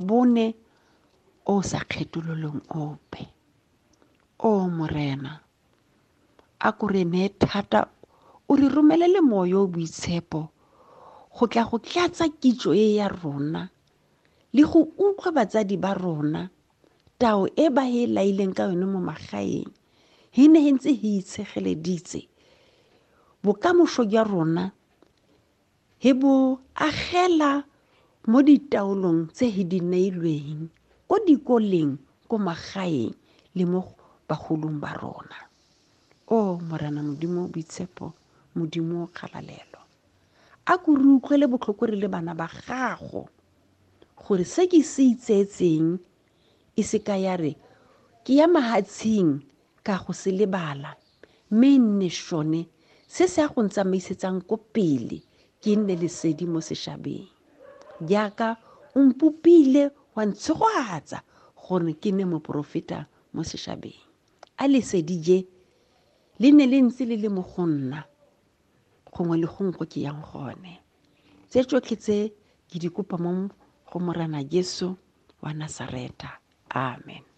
Bone o sa kgethololeng ope. O Morena, a ko re nee thata o re romelele moya o boitshepo go tla go tlatsa kitso e ya rona le go utlwa batsadi ba rona tao e ba e laileng ka yone mo magaeng he ne he ntse he itshegeleditse bokamoso jwa rona He bo agela mo ditaolong tse he di neilweng ko dikoleng, ko magaeng le mo bagolong ba rona. O Morena Modimo o boitshepo, Modimo o kgalalelo, a ko re utlwele botlhoko re le bana ba gago, gore se ke se itseetseng e se ka ya re ke ya mahatsheng ka go se lebala, mme e nne sone se se ya go ntsamaisetsang ko pele, ke nne lesedi mo sešabeng. Jaaka o mpopile wa ntshegoatsa gore ke nne moporofeta mo sešabeng. A lesedi je le ne le ntse le le mo go nna gongwe le gongwe ko ke yang gone. Tse tsotlhe tse ke di kopa mo go Morena Jesu wa Nasareta. Amen.